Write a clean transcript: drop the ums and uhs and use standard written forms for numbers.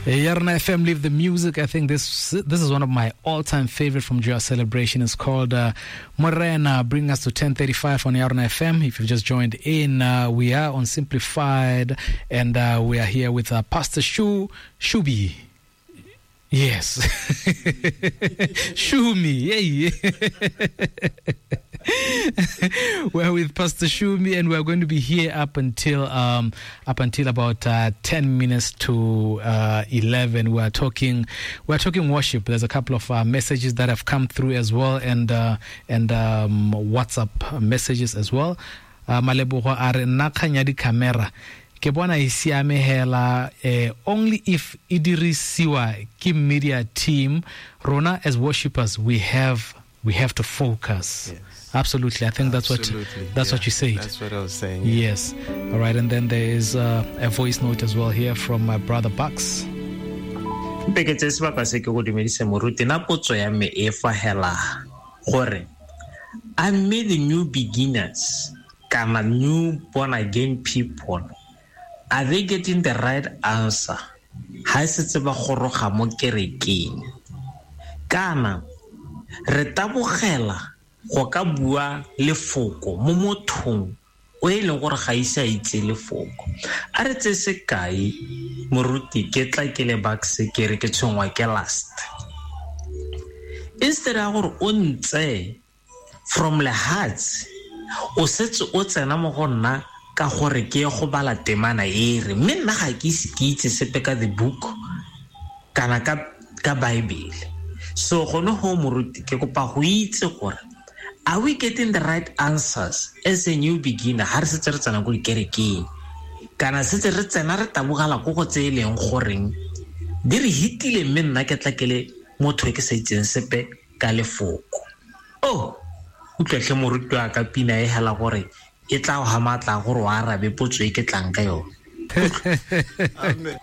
Yarona FM, leave the music. I think this this is one of my all-time favorite from Joyous Celebration. It's called Morena. Bring us to 10:35 on Yarona FM. If you've just joined in, we are on Simplified, and we are here with Pastor Shubi. Yes. Shumi. Yeah. We're with Pastor Shumi, and we're going to be here up until about 10 minutes to 11. We're talking worship. There's a couple of messages that have come through as well, and WhatsApp messages as well. Malebogo a re nna kgang ya di-camera ke bona e siame hela, only if e dirisiwa ke media team. Rona as worshippers, we have to focus. Yes. Absolutely. I think that's Absolutely. What you said. That's what I was saying. Yes. All right. And then there is a voice note as well here from my brother Bucks. Mpeketse sebaka se ke go dumedise moruti na potso ya me e fa hela gore a mme the new beginners kana new born again people, are they getting the right answer ha e setse ba goroga mo kerekeng, kana re tabogela go ka bua lefoko mo mothong o e leng gore ga ise a itse lefoko? A re tse sekai, moruti, ke tla ke le Bucks ke re ke tshwengwa ke last. Instead ya gore o ntse from lehatshe, o setse o tsena mo go nna ka gore ke ye go bala temana e re, mme nna ga ke ise ke itse sepe ka the book kana ka Bible. So gone ho moruti, ke kopa go itse gore are we getting the right answers as a new beginner ha re setse re tsena ko dikerekeng, kana setse re tsena re tabogela ko go tse e leng goreng di re hitile, mme nna ke tla ke le motho e ke sa itseng sepe ka lefoko. Oh, utlwetlhe moruti wa ka pina e hela gore e tla go ha matla gore o arabe potso e ke tlang ka yone. Amen.